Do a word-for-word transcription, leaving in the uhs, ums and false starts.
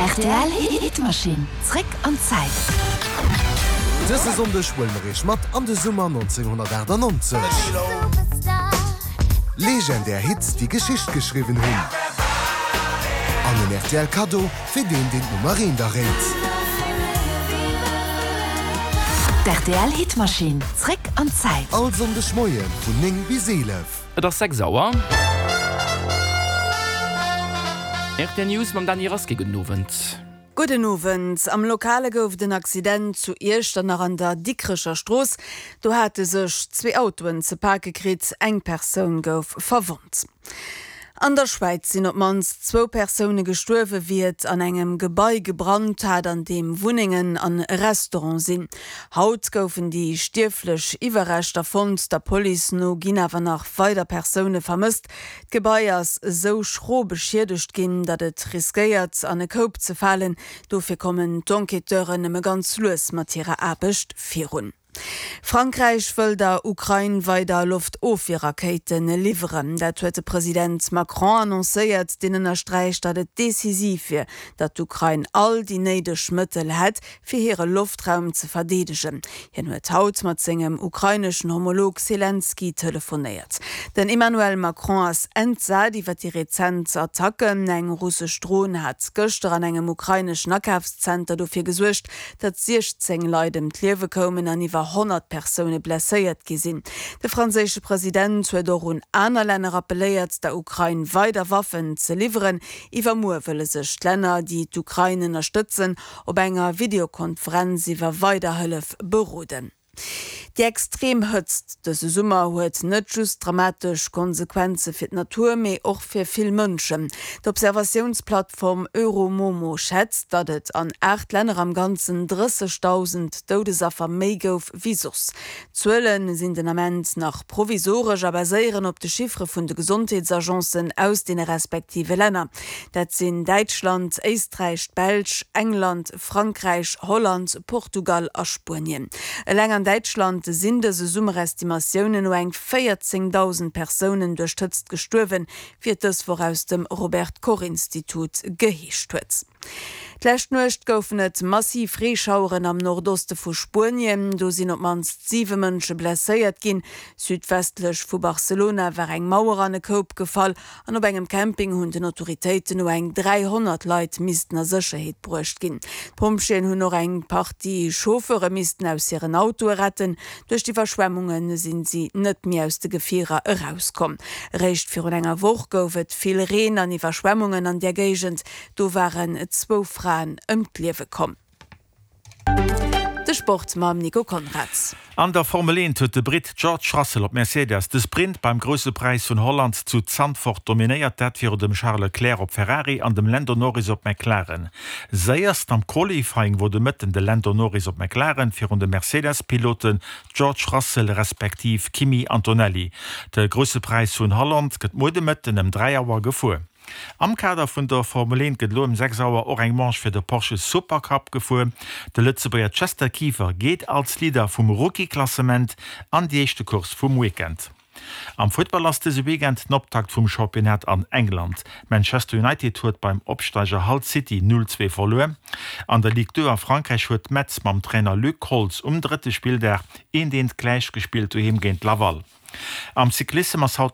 Rtl Hitmaschinn, zréck an d'Zäit. Dëse Sonndeg huele mer iech mat an de Summer nonzénghonnertaachtanonzeg. Legendär Hits, déi Geschicht geschriwwen hunn. An en rtl Kaddo fir deen, deen d'Nummer eent erréit. D'rtl Hitmaschinn, zréck an d'Zäit. All Sonndeg Moie vun néng bis eelef. Et ass sechs Auer. Rtl News mam Dany Rasqué. Gudden Owend. Gudden Owend. Am Lokale gouf et en Accident zu Iechternach an der Dikrecher Strooss. Do hate sech zwee Autoen ze pake kritt, eng Persoun gouf verwonnt. An der Schwäiz sinn op d'mannst zwou Persoune gestuerwen, wéi et an engem Gebai gebrannt hat, an deem Wunnengen an e Restaurant sinn. Haut goufen déi stierflech Iwwerreschter fonnt, der Police no ginn awer nach weider Persoune vermësst. D'Gebai ass esou schro beschiedegt ginn, datt et riskéiert, an e Koup ze falen. Dofir kommen d'Enquêteuren nëmme ganz lues mat hirer Aarbecht virun. Frankräich wëll der Ukrain weider Loftofwierrakéite liwweren. Dat huet de President Macron annoncéiert, deen ënnersträicht, datt et decisiv wier, datt d'Ukrain all déi néideg Mëttel hätt, fir hire Loftraum ze verdeedegen. Hien huet haut mat sengem ukraineschen Homolog Selenskyj telefonéiert. Den Emmanuel Macron ass entsat iwwer déi rezent Attacken. Eng russesch Dron hat gëschter an engem ukraineschen Akafszenter dofir gesuergt, datt siechzéng Leit ëm d'Liewe koumen an iwwer honnert Persoune blesséiert gi sinn. De franséische President huet och un aner Länner appelléiert, der Ukrain weider Waffen ze liwweren. Iwwermuer wëlle sech d'Länner, déi d'Ukrain ënnerstëtzen, op enger Videokonferenz iwwer weider Hëllef beroden. Déi extrem Hëtzt dëse Summer huet net just dramatesch Konsequenze fir d'Natur, mee och fir vill Mënschen. D'Observatiounsplattform Euromomo schätzt, datt et an aacht Länner am Ganzen drëssegdausend Doudesaffer méi gouf wéi soss. D'Zuele sinn den Ament nach provisoresch a baséieren op de Chiffere vun de Gesondheetsagencen aus deene respektive Länner. Dat sinn Däitschland, Éisträich, d'Belsch, England, Frankräich, Holland, Portugal a Spuenien. Eleng an Däitschland sinn dëse Summer Estimatiounen no eng véierzéngdausend Persounen duerch d'Hëtzt gestuerwen, wéi et dës Woch aus dem Robert Koch Institut geheescht huet. D'lescht Nuecht goufen et massiv Reeschaueren am Nordoste vu Spuenien. Do sinn op d'mannst siwe Mënsche blesséiert ginn. Südwestlech vu Barcelona war eng Mauer an e Koup gefall an op engem Camping hunn den Autoritéiten no eng dräihonnert Leit missten a Sécherheet bruecht ginn. D'Pompjeeën hunn och eng Partie Chauffeure missten aus hiren Autoe retten. Duerch d'Iwwerschwemmunge sinn si net méi aus de Gefierer erauskomm. Eréischt virun enger Woch gouf et vill Reen an Iwwerschwemmungen an där Géigend. Do waren zwou Fraen ëm d'Liewe komm. De Sport mam Nico Conrads. An der Formel eent huet de Britt George Russell op Mercedes de Sprint beim Grousse Präis vun Holland zu Zandvoort dominéiert, dat virun dem Charles Leclerc op Ferrari an dem Lando Norris op McLaren. Séierst am Qualifying wor de Mëtten de Lando Norris op McLaren virun de Mercedes-Piloten George Russell respektiv Kimi Antonelli. De Grousse Präis vun Holland gëtt muer de Mëtten ëm dräi Auer gefuer. Am Kader vun der Formel eent gëtt elo ëm sechs Auer och eng Manche fir de Porsche Supercup gefuer. De Lëtzebuerger Chester Kieffer geet als Leader vum Rookie-Klassement an déi éischte Course vum Weekend. Am Futtball ass dëse Weekend den Optakt vum Championnat an England. Manchester United huet beim Opsteiger Hull City null zwee verluer. An der Ligue deux a Frankräich huet Metz mam Trainer Luc Holtz um drëtte Spilldag eent eent gläich gespillt doheem géint Laval. Am Cyclissem ass haut